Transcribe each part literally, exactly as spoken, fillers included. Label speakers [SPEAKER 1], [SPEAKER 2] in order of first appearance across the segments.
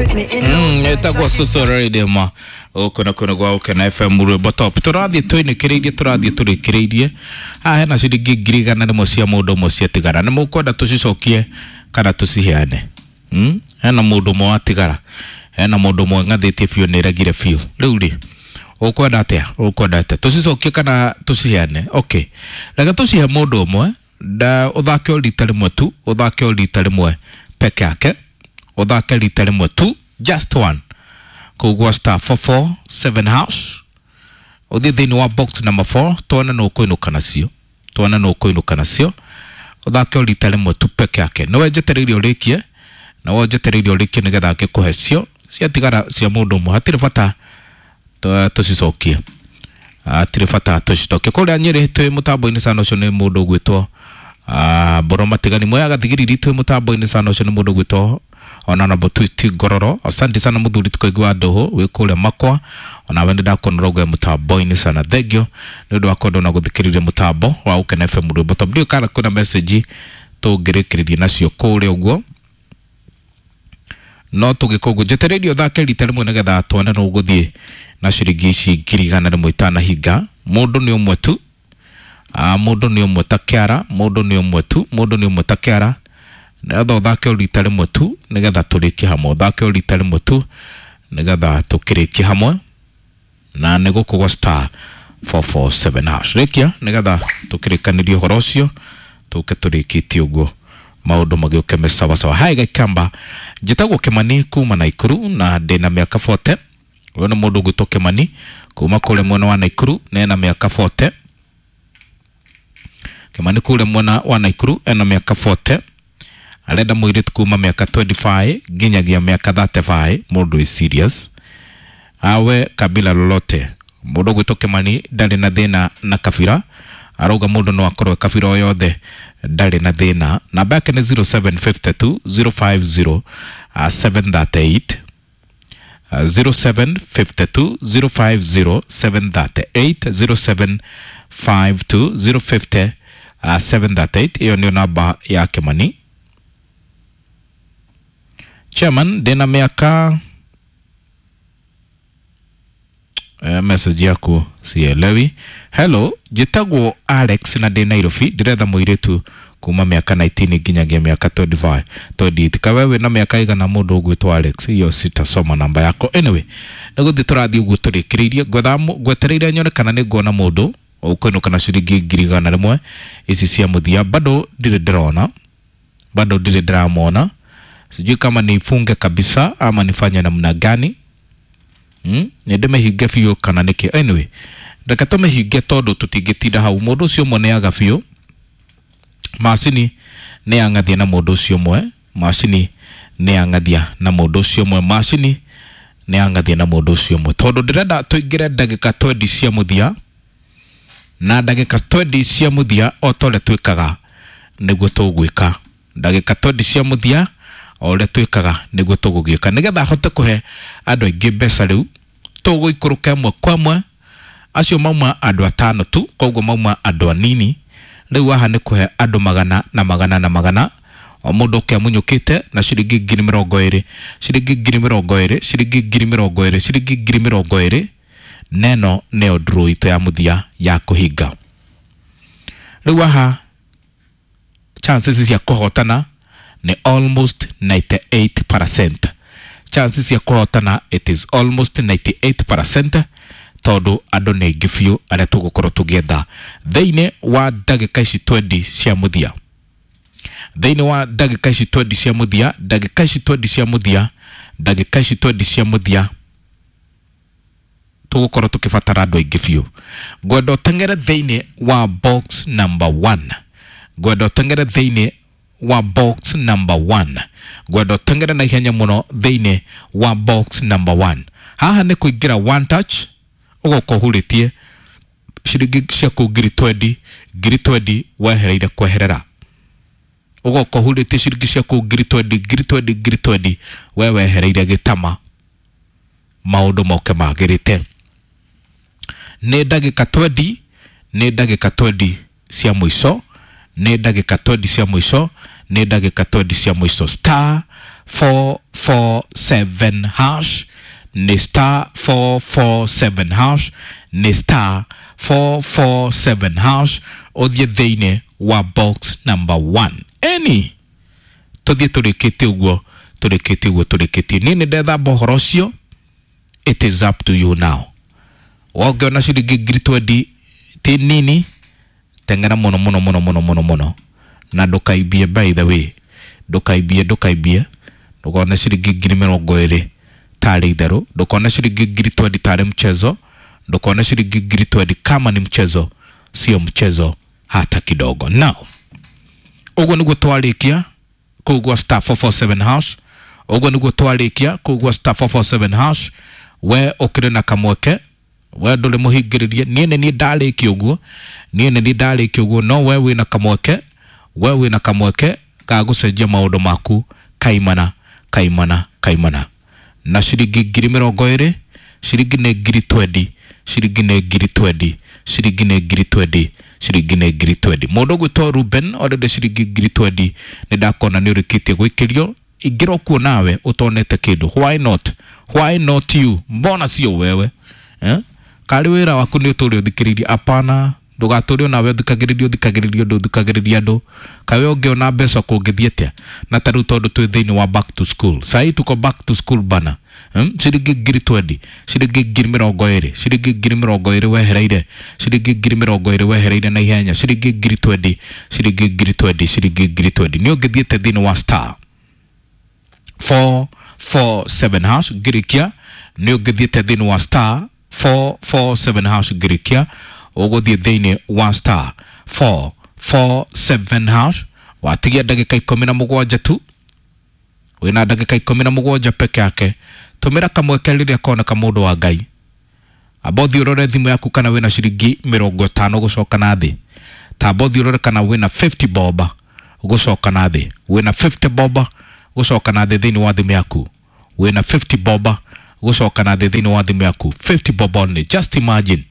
[SPEAKER 1] Mm, ĩtagwo Susu Rhythm gũkũ na kũndũ gwa Gũkena F M rwĩmbo top. Tũrathiĩ twĩnĩkĩrĩirie, tũrathiĩ tũrĩkĩrĩirie. Haha hena ciringi ngiri igana rĩmwe cia mũndũ ũmwe ciatigara. Nĩ mũkwenda tũcicokie kana tũciheane? Mm? Hena mũndũ ũmwe watigara, hena mũndũ ũmwe ng'athĩtie biũ, nĩ ĩregire biũ. Rĩu rĩ, ũkwenda atĩa? Ũkwenda atĩa? Tũcicokie kana tũciheane? Okay, reke tũcihe mũndũ ũmwe, nda ũthake o rita rĩmwe tu, ũthake o rita rĩmwe peke yake, ũthake rita rĩmwe tu, just one, kũu gwa star four four seven house, ũthiĩ thĩinĩ wa box number four, tuone nũ ũkũinũka nacio, tuone nũ ũkũinũka nacio. Ũthake o rita rĩmwe tu peke yake. Nĩwe njetereire ũrĩkie, nawe njetereire ũrĩkie nĩgetha ngĩkũhe cio ciatigara cia mũndũ ũmwe. Hatirĩ bata tũcicokie, hatirĩ bata tũcicokie. Kũrĩa Nyĩrĩ twĩ mũtambo-inĩ sana, ũcio nĩ mũndũ ũgwĩtwo Mboro Matigani. Mwea Gathigiriri twĩ mũtambo-inĩ sana, ũcio nĩ mũndũ ũgwĩtwo Honorable Twist Ngororo. Asante sana mũthuri tũkaigua ndũhũ wĩ kũrĩa Makwa, onawe nĩ ndakuona ũrauga mũtambo-inĩ sana. Thank you nĩ ũndũ wa kwenda na gũthikĩrĩria mũtambo wa Gũkena F M rwĩmbo top. Ndiũĩ kana kwĩna message tũngĩrĩkĩrĩria nacio kũrĩa ũguo, no tũgĩka ũguo. Njetereire ũthake rita rĩmwe nĩgetha tuone nũ ũgũthiĩ na ciringi ici ngiri igana rĩmwe itanahinga. Mũndũ nĩ ũmwe tu, mũndũ nĩ ũmwe ta kĩara, mũndũ nĩ ũmwe tu, mũndũ nĩ ũmwe ta kĩara. Nĩgetha ũthake o rita rĩmwe tu nĩgetha tũrĩkie hamwe, ũthake o rita rĩmwe tu nĩgetha tũkĩrĩkie hamwe, na nĩ gũkũ gwa star four four seven hash. Rĩkia nĩgetha tũkĩrĩkanĩrie ũhoro ũcio, tũke tũrĩkĩtie ũguo maũndũ magĩũke me sawa sawa. Hai Gaikamba, njĩtagwo Kĩmani kuma Naikuru na ndĩna mĩaka forty. Ũyũ nĩ mũndũ ũgwĩtwo Kĩmani kuma kũrĩa mwena wa Naikuru na ena mĩaka forty. Kĩmani kũrĩa mwena wa Naikuru ena mĩaka forty. Arenda mũirĩtu kuma mĩaka twenty-five nginyagia mĩaka thirty-five, mũndũ wĩ serious, awe kabila lolote. Mũndũ ũgwĩtwo Kĩmani ndarĩ na thĩna na kabira, arauga mũndũ no akorwo kabira o yothe, ndarĩ na thĩna. Namba yake nĩ zero seven five two zero five zero seven thirty eight, zero seven five two zero five zero seven thirty eight, zero seven five two zero fifty seven thirty eight. Iyo nĩyo namba ya Kĩmani. Chairman, ndĩna mĩaka, eh, message yaku sielewi. Hello, njĩtagwo Alex na ndĩ Nairobi, ndĩretha mũirĩtu kuma mĩaka nineteen nginyagia mĩaka twenty-five, twenty-eight. Kawe wĩna mĩaka igana mũndũ ũgwĩtwo Alex, iyo sitasoma namba yako. Anyway, nĩ gũthiĩ tũrathiĩ ũguo tũrĩkĩrĩirie. Ngwetereire nyone kana nĩ nguona mũndũ ũkũinũka na ciringi ngiri igana rĩmwe ici cia mũthia. Bado ndirĩ ndĩrona, bado ndirĩ ndĩramwona. Sijui kama nifunge kabisa ama nifanye namna gani. Hmm? Nĩ ndĩmĩhinge biũ kana nĩkĩ? Anyway, reke tũmĩhinge tondũ tũtingĩtinda hau. Mũndũ ũcio ũmwe nĩaga biũ, macini nĩ yang'athia na mũndũ ũcio ũmwe, macini nĩ yang'athia na mũndũ ũcio ũmwe, macini nĩ yang'athia na mũndũ ũcio ũmwe. Tondũ ndĩrenda tũingĩre ndagĩka twenty cia mũthia, na ndagĩka twenty cia mũthia o ta ũrĩa twĩkaga nĩguo tũgwĩka. Ndagĩka twenty cia mũthia o ũrĩa twĩkaga nĩguo tũgũgĩka, nĩgetha hote kũhe andũ aingĩ mbeca. Rĩu tũgũikũrũka ĩmwe kwa ĩmwe, acio mauma andũ atano tu, koguo mauma andũ anini. Rĩu haha nĩ kũhe andũ magana na magana na magana, o mũndũ ũke amunyũkĩte na ciringi ngiri mĩrongo ĩrĩ, ciringi ngiri mĩrongo ĩrĩ, ciringi ngiri mĩrongo ĩrĩ, ciringi ngiri mĩrongo ĩrĩ. Neno nĩyo draw itũ ya mũthia ya kũhinga. Rĩu haha chances cia kũhotana nĩ almost ninety-eight percent. Chances cia kũhotana it is almost ninety-eight percent, tondũ andũ nĩ aingĩ biũ arĩa tũgũkorwo tũgĩetha thĩinĩ wa ndagĩka ici twenty cia mũthia. Thĩinĩ wa ndagĩka ici twenty cia mũthia, ndagĩka ici twenty cia mũthia, ndagĩka ici twenty cia mũthia tũgũkorwo tũkĩbatara andũ aingĩ biũ. Ngwenda ũteng'ere thĩinĩ wa box number one. Ngwenda ũteng'ere thĩinĩ wa box number one. Ngwenda ũteng'ere na ihenya mũno thĩinĩ wa box number one. Haha nĩ kũingĩra one touch, ũgoka ũhurĩtie ciringi ciaku ngiri twenty, ngiri twenty wehereire kweherera. Ũgoka ũhurĩtie ciringi ciaku ngiri twenty, ngiri twenty, ngiri twenty we wehereire gĩtama, maũndũ moke magĩrĩte. Nĩ ndagĩka twenty, nĩ ndagĩka twenty cia mũico, nĩ ndagĩka twenty cia mũico, nĩ ndagĩka twenty cia mũico. Star four four seven hash, nĩ star four four seven hash, nĩ star four four seven hash, ũthiĩ thĩinĩ wa box number one. Any tũthiĩ tũrĩkĩtie ũguo, tũrĩkĩtie ũguo, tũrĩkĩtie. Niĩ nĩ ndethamba ũhoro ũcio, it is up to you now. Wongĩona ciringi ngiri twendi ti nini, teng'era mũno mũno mũno mũno mũno mũno, na ndũkaimbie. By the way, ndũkaimbie, ndũkaimbie, ndũkone ciringi ngiri mĩrongo ĩrĩ tarĩ itherũ, ndũkone ciringi ngiri twendi tarĩ mchezo, ndũkone ciringi ngiri twendi kama ni mchezo. Sio mchezo hata kidogo. Now ũguo nĩguo twarĩkia kũu gwa star four four seven hash, ũguo nĩguo twarĩkia kũu gwa star four four seven hash. We ũkĩrĩ na kamweke, we ndũrĩ mũhingĩrĩrie. Niĩ nĩ niĩ ndarĩkia ũguo, niĩ nĩ niĩ ndarĩkia ũguo, no we wĩna kamweke, we wĩna kamweke ga gũcenjia maũndũ maku kaimana kaimana kaimana. Na ciringi ngiri mĩrongo ĩrĩ, ciringi nĩ ngiri twendi, ciringi nĩ ngiri twendi, ciringi nĩ ngiri twendi, ciringi nĩ ngiri twendi. Mũndũ ũgwĩtwo Ruben already ciringi ngiri twendi, nĩ ndakona nĩ ũrĩkĩtie gwĩkĩrio. Ingĩra kuo nawe ũtonete kĩndũ, why not, why not you, mbona sio wewe eh? Karĩ wĩra waku nĩ ũtũre ũthikĩrĩirie? Apana, ndũgatũre onawe ũthikagĩrĩria, ũthikagĩrĩria ũndũ, ũthikagĩrĩria andũ. Kawe ũngĩona mbeca kũngĩthiĩ atĩa? Na ta rĩu tondũ twĩ thĩinĩ wa back to school, sahi tuko back to school bana. Hmm? Ciringi ngiri twendi, ciringi ngiri mĩrongo ĩrĩ, ciringi ngiri mĩrongo ĩrĩ wehereire, ciringi ngiri mĩrongo ĩrĩ wehereire na ihenya, ciringi ngiri twendi, ciringi ngiri twendi, ciringi ngiri twendi. Nĩ ũngĩthiĩte thĩinĩ wa star four four seven hash ngĩrĩkia, nĩ ũngĩthiĩte thĩinĩ wa star four four seven hash ngĩrĩkia, ũgũthiĩ thĩinĩ wa star four four seven hash. Watigia ndagĩka ikũmi na mũgwanja tu, wĩna ndagĩka ikũmi na mũgwanja peke yake. Tũmĩra kamweke rĩrĩa koneka, mũndũ wa Ngai. Amba ũthiĩ ũrore thimũ yaku kana wĩna ciringi mĩrongo ĩtano gũcoka na thĩ. Tamba ũthiĩ ũrore kana wĩna fifty bob gũcoka na thĩ, wĩna fifty bob gũcoka na thĩ thĩinĩ wa thimũ yaku, wĩna fifty bob gũcoka na thĩ thĩinĩ wa thimũ yaku, fifty bob only. Just imagine,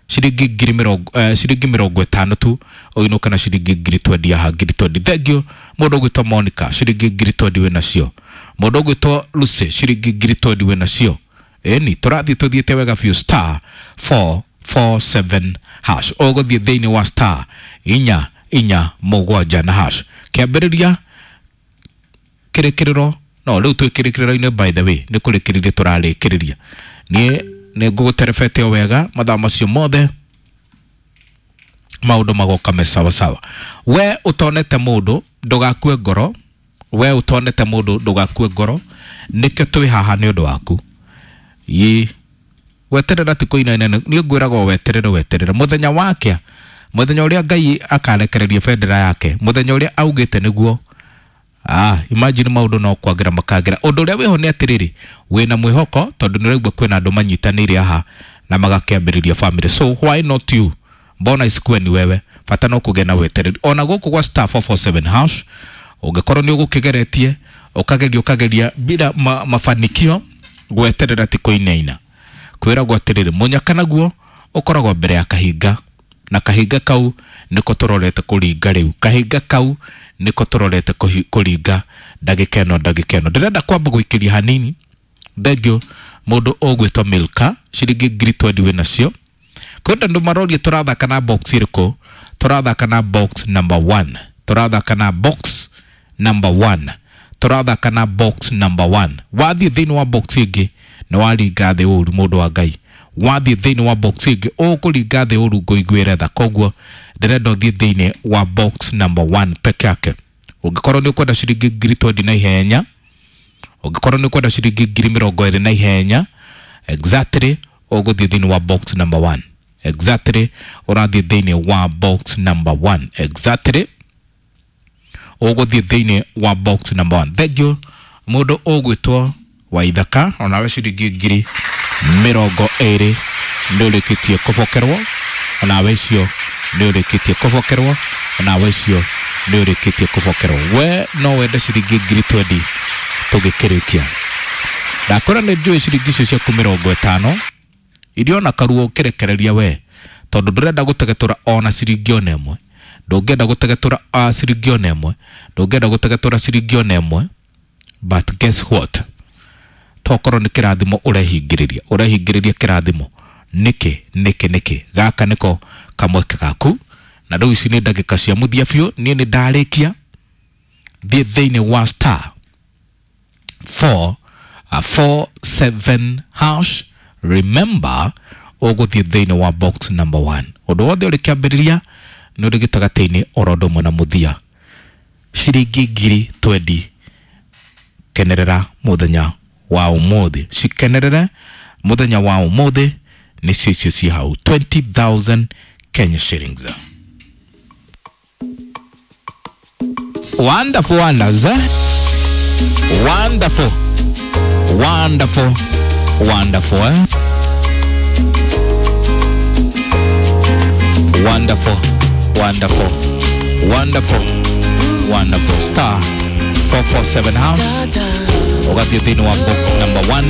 [SPEAKER 1] ciringi ngiri mĩrongo eh, ciringi mĩrongo ĩtano tu ũinũke na ciringi ngiri twendi haha, ngiri twendi. Thank you. Mũndũ ũgwĩtwo Monica, ciringi ngiri twendi wĩ nacio. Mũndũ ũgwĩtwo Lucy, ciringi ngiri twendi wĩ nacio. Ĩni tũrathiĩ tũthiĩte wega biũ. Star four four seven hash, ũgũthiĩ thĩinĩ wa star inya inya mũgwanja na hash. Kĩambĩrĩria kĩrĩkĩrĩro, no rĩu twĩ kĩrĩkĩrĩro-inĩ. By the way, nĩ kũrĩkĩrĩria tũrarĩkĩrĩria. Niĩ nĩ ngũgũterebete o wega mathaa macio mothe, maũndũ magoka me sawa sawa. We ũtonete mũndũ, ndũgakue ngoro. We ũtonete mũndũ, ndũgakue ngoro, nĩkĩo twĩ haha nĩ ũndũ waku. Ĩ weterera ti kũinaina, niĩ ngwĩraga weterere, weterere mũthenya wakĩa, mũthenya ũrĩa Ngai akarekereria bendera yake, mũthenya ũrĩa augĩte nĩguo. Ah, imagine, maũndũ no kwagĩra makagĩra. Ũndũ ũrĩa wĩho nĩ atĩrĩrĩ, wĩna mwĩhoko tondũ nĩ ũraigua kwĩna andũ manyitanĩire haha na magakĩambĩrĩria family, so why not you, mbona isikuwe ni wewe? Bata no kũgĩa na wetereri. Ona gũkũ gwa star four four seven hash, ũngĩkorwo nĩ ũgũkĩgeretie, ũkageria, ũkageria bila ma, mafanikio, gweterera ti kũinaina. Kwĩragwo atĩrĩrĩ, mũnyaka naguo ũkoragwo mbere ya kahinga, na kahinga kau nĩko tũrorete kũringa rĩu, kahinga kau nĩko tũrorete kũringa ndagĩka ĩno, ndagĩka ĩno ndĩrenda kwamba gũikĩria hanini. Thengiũ mũndũ ũgwĩtwo Milka, ciringi ngiri twendi wĩ nacio. Kwenda andũ maroria tũrathaka na box ĩrĩkũ? Tũrathaka na box number one, tũrathaka na box number one, tũrathaka na box number one. Wathiĩ thĩinĩ wa box ĩngĩ nĩ waringa thĩ ũru, mũndũ wa Ngai. Wathiĩ thĩinĩ wa box ĩngĩ ũkũringa thĩ ũru, ngũiguĩre tha. Koguo ndĩrenda ũthiĩ thĩinĩ wa box number one peke yake. Ũngĩkorwo nĩ ũkwenda ciringi ngiri twendi na ihenya, ũngĩkorwo nĩ ũkwenda ciringi ngiri mĩrongo ĩrĩ na ihenya, exactly ũgũthiĩ thĩinĩ wa box number one. Exactly ũrathiĩ thĩinĩ wa box number one, exactly ũgũthiĩ thĩinĩ wa box number one. Thank you. Mũndũ ũgwĩtwo Waithaka, onawe ciringi ngiri mĩrongo ĩrĩ nĩ ũrĩkĩtie kũbokerwo, onawe icio nĩ ũrĩkĩtie kũbokerwo, onawe icio nĩ ũrĩkĩtie kũbokerwo. We no wende ciringi ngiri twendi tũgĩkĩrĩkia? Ndakora nĩ njũĩ ciringi icio ciaku mĩrongo ĩtano iria ona karuo ũkĩrekereria we, tondũ ndũrenda gũtegetũra ona ciringi ona ĩmwe, ndũngĩenda gũtegetũra uh, ciringi ona ĩmwe, ndũngĩenda gũtegetũra ciringi ona ĩmwe. But guess what, tokorwo nĩ kĩrathimo ũrehingĩrĩria, ũrehingĩrĩria kĩrathimo nĩkĩ nĩkĩ nĩkĩ? Gaka nĩko kamweke gaku. Na rĩu ici nĩ ndagĩka cia mũthia biũ, niĩ nĩ ndarĩkia. Thiĩ thĩinĩ wa star four uh, four seven hash. Remember, ũgũthiĩ thĩinĩ wa box number one. Ũndũ wothe ũrĩ kĩambĩrĩria nĩ ũrĩ gĩtagatĩ-inĩ oro ũndũ ũmwe na mũthia. Ciringi ngiri twendi, kenerera mũthenya wa ũmũthĩ, cikenerere mũthenya wa ũmũthĩ, nĩcio icio ciĩ hau, twenty thousand Kenya shillings. Wonderful wonders, eh? Wonderful, wonderful, wonderful, eh? Wonderful, wonderful, wonderful, wonderful. Star four four seven hash, ũgathiĩ thĩinĩ wa box number one.